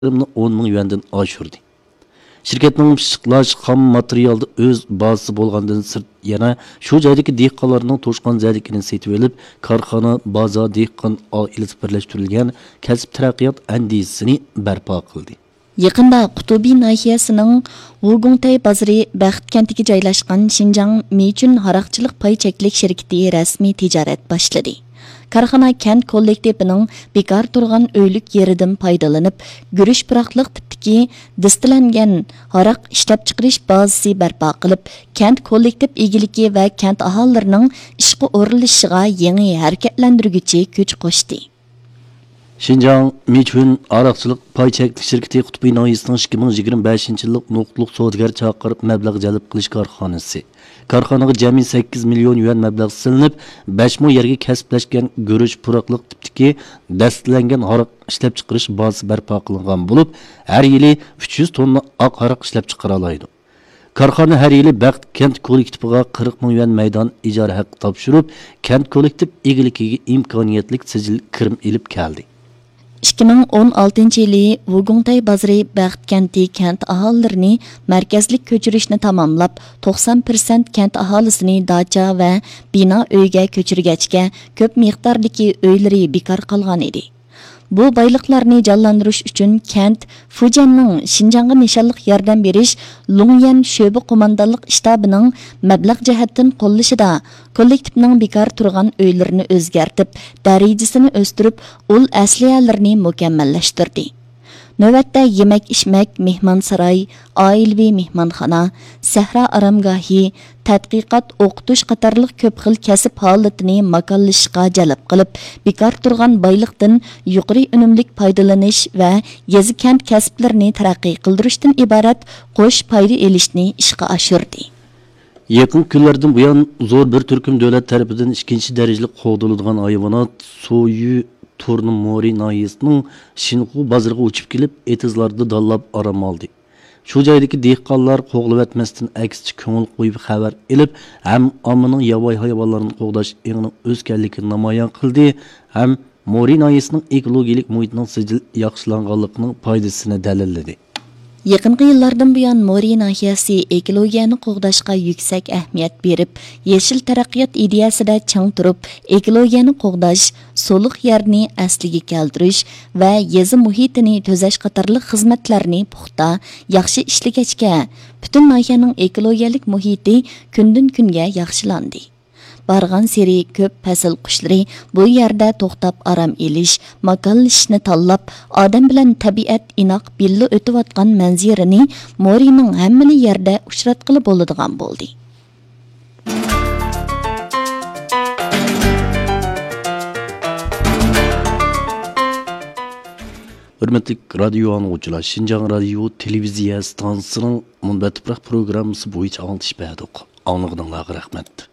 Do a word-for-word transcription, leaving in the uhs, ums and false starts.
يېرىمنى ئون مىڭ يۈەندىن ئاشۇردى. شىركەتنىڭ پىششىقلاش خام ماتېرىيالدا ئۆز بازىسى بولغاندىن سىرت، يەنە شۇ جايدىكى دېھقانلارنىڭ توشقان زەدىكىنى سېتىۋېلىپ، كارخانا، بازار، دېھقان ئائىلىسى بىرلەشتۈرۈلگەن كەسىپ تەرەققىيات ئەندىزىسىنى بەرپا قىلدى. يېقىندا قۇتۇبى ناھىيەسىنىڭ ۋۇگۇڭتەي بازىرى بەخت كەنتىگە جايلاشقان شىنجاڭ مىچۈن ھاراقچىلىق پاي چەكلىك شىركىتى رەسمىي تىجارەت باشلىدى. كارخانا كەنت كوللېكتىپىنىڭ بىكار تۇرغان ئۆيلۈك يېرىدىن پايدىلىنىپ، گۈرۈچ پۇراقلىق تىپتىكى دىستىلەنگەن ھاراق ئىشلەپچىقىرىش بازىسى بەرپا قىلىپ، كەنت كوللېكتىپ ئىگىلىكى ۋە كەنت ئاھالىلىرىنىڭ ئىشقا ئورۇنلىشىشىغا يېڭى ھەرىكەتلەندۈرگۈچى كۈچ قوشتى. شىنجاڭ مىچۈن ھاراقچىلىق پاي چەكلىك شىركىتى قۇتبى ناھىيەسىنىڭ ئىككى مىڭ يىگىرمە بەشىنچى يىللىق نۇقتىلىق سودىگەر چاقىرىپ مەبلەغ جەلپ قىلىش كارخانىسى. كارخانىغا جەمئىي سەككىز مىليون يۈەن مەبلەغ سېلىنىپ، بەش مو يەرگە كەسىپلەشكەن گۈرۈچ پۇراقلىق تىپتىكى دەستىلەنگەن ھاراق ئىشلەپچىقىرىش بازىسى بەرپا قىلىنغان بولۇپ، ھەر يىلى ئۈچ يۈز توننا ئاق ھاراق ئىشلەپچىقىرالايدۇ. كارخانا ھەر يىلى بەخت كەنت كوللېكتىپىغا قىرىق مىڭ يۈەن مەيدان ئىجارە ھەققى تاپشۇرۇپ، كەنت كوللېكتىپ ئىگىلىكىگە ئىمكانىيەتلىك سىجىل كىرىم ئېلىپ كەلدى. ئىككى مىڭ ئون ئالتىنچى يىلى ۋۇگۇڭتەي بازىرى بەخت كەنتى كەنت ئاھالىلىرىنى مەركەزلىك كۆچۈرۈشنى تاماملاپ، توقسان پىرسەنت كەنت ئاھالىسىنى داچا ۋە بىنا ئۆيگە كۆچۈرگەچكە، كۆپ مىقداردىكى ئۆيلىرى بىكار قالغان ئىدى. بۇ بايلىقلارنى جانلاندۇرۇش ئۈچۈن كەنت فۇجيەننىڭ شىنجاڭغا نىشانلىق ياردەم بېرىش لۇڭيەن شۆبە قوماندانلىق شتابىنىڭ مەبلەغ جەھەتتىن قوللىشىدا كوللېكتىپنىڭ بىكار تۇرغان ئۆيلىرىنى ئۆزگەرتىپ، دەرىجىسىنى ئۆستۈرۈپ، ئۇل ئەسلىھەلىرىنى مۇكەممەللەشتۈردى. نۆۋەتتە يېمەك-ئىچمەك، مېھمانساراي، ئائىلىۋى مېھمانخانا، سەھرا ئارامگاھى، تەتقىقات، ئوقۇتۇش قاتارلىق كۆپ خىل كەسىپ ھالىتىنى ماكانلىشىشقا جەلپ قىلىپ، بىكار تۇرغان بايلىقتىن يۇقىرى ئۈنۈملۈك پايدىلىنىش ۋە يېزا-كەنت كەسىپلىرىنى تەرەققىي قىلدۇرۇشتىن ئىبارەت قوش پايدا ئېلىشنى ئىشقا ئاشۇردى. يېقىنقى كۈنلەردىن بۇيان، زور بىر تۈركۈم دۆلەت تەرىپىدىن ئىككىنچى دەرىجىلىك قوغدىلىدىغان ھايۋانات سويۈ تورنى مورى ناھىيەسىنىڭ شىنخۇ بازىرىغا ئۇچۇپ كېلىپ، ئېتىزلاردا دانلاپ ئارام ئالدى. شۇ جايدىكى دېھقانلار قوغلىۋەتمەستىن، ئەكسىچە كۆڭۈل قويۇپ خەۋەر ئېلىپ، ھەم ئاممىنىڭ ياۋايى ھايۋانلارنى قوغداش ئېڭىنىڭ ئۆسكەنلىكىنى نامايان قىلدى، ھەم مورى ناھىيەسىنىڭ ئېكولوگىيەلىك مۇھىتىنىڭ سىجىل ياخشىلانغانلىقىنىڭ پايدىسىنى دەلىللىدى. يېقىنقى يىللاردىن بۇيان، مورى ناھىيەسى ئېكولوگىيەنى قوغداشقا يۈكسەك ئەھمىيەت بېرىپ، يېشىل تەرەققىيات ئىدىيەسىدە چىڭ تۇرۇپ، ئېكولوگىيەنى قوغداش، سۇلۇق يەرنى ئەسلىگە كەلتۈرۈش ۋە يېزا مۇھىتىنى تۈزەش قاتارلىق خىزمەتلەرنى پۇختا، ياخشى ئىشلىگەچكە، پۈتۈن ناھىيەنىڭ ئېكولوگىيەلىك مۇھىتى كۈندىن-كۈنگە ياخشىلاندى. بارغانسېرى كۆپ پەسىل قۇشلىرى بۇ يەردە توختاپ ئارام ئېلىش، ماكانلىشىشنى تاللاپ، ئادەم بىلەن تەبىئەت ئىناق بىللە ئۆتۈۋاتقان مەنزىرىنى مورىنىڭ ھەممىلا يەردە ئۇچراتقىلى بولىدىغان بولدى. ھۆرمەتلىك رادىيو ئاڭلىغۇچىلار، شىنجاڭ رادىيو تېلېۋىزىيە ئىستانسىسىنىڭ مۇنبەت تۇپراق پروگراممىسى بويىچە ئاڭلىتىش بەردۇق. ئاڭلىغىنىڭلارغا رەھمەت.